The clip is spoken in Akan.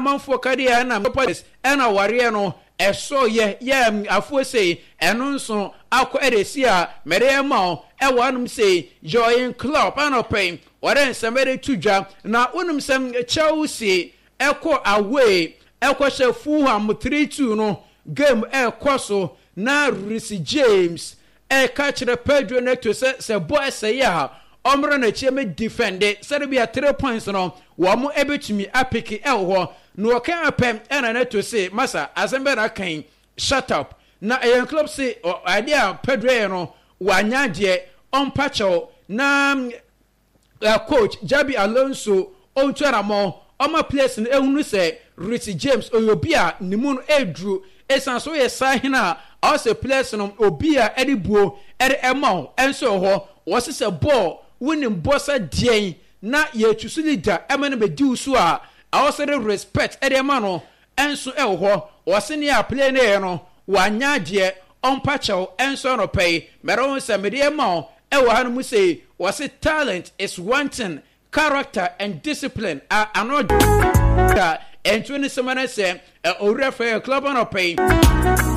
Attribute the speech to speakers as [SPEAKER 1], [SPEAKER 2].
[SPEAKER 1] Amanfoɔ ka deɛ ɛna ɛna awareɛ no ɛsɔ yɛ yɛ afoɔ sei, ɛno nso akɔ ɛde si a mɛde ɛma wo ɛwɔ anom sei. Jurgen Klopp anɔpɛ wɔde nsɛm ɛde to dwa na wonim sɛ Chelsea ɛkɔ away ɛkɔhyɛ Fulham 3-2 no, game ɛkɔ so na Reece James ɛka kyerɛ Pedro Neto sɛ bɔ ɛsɛe a, ɔmmra n'akyi mɛ defend sɛde bi a 3 points no wɔn ɛbɛtumi apick ɛwɔ hɔ. Na ɔka apɛ ɛna Neto se, "Masa, asɛm bɛ na kan, shut up." Na ɛyɛ club se adeɛ a Pedro yɛ no wanya adeɛ, ɔmpa kyɛw na coach Xabi Alonso ɔntu anamɔ ɔma players no ehunu sɛ Reece James ɔyɛ obi a ne mu no eduru. Esan so yɛ saa hene a ɔsɛ players no obi a ɛde buo ɛde ɛma wo ɛnso wɔ hɔ. Wɔsi sɛ bɔɔl wonim bɔ sɛ deɛn na yɛtu so leader ɛma no bɛdi wo so a, ɛwɔ sɛ de respect ɛde ɛma no ɛnso ɛwɔ hɔ. Wɔsi ne a player no yɛ no wanya adeɛ, ɔmpa kyɛw. Ɛnso anɔpɛ yi mɛrɛ wɔn sɛ mɛde ɛma wo ɛwɔ ha no mu sɛ wɔsi talent is one thing, character and discipline a ano da ɛnto ne sɛm no sɛ owura fɛ club anɔpɛ yi.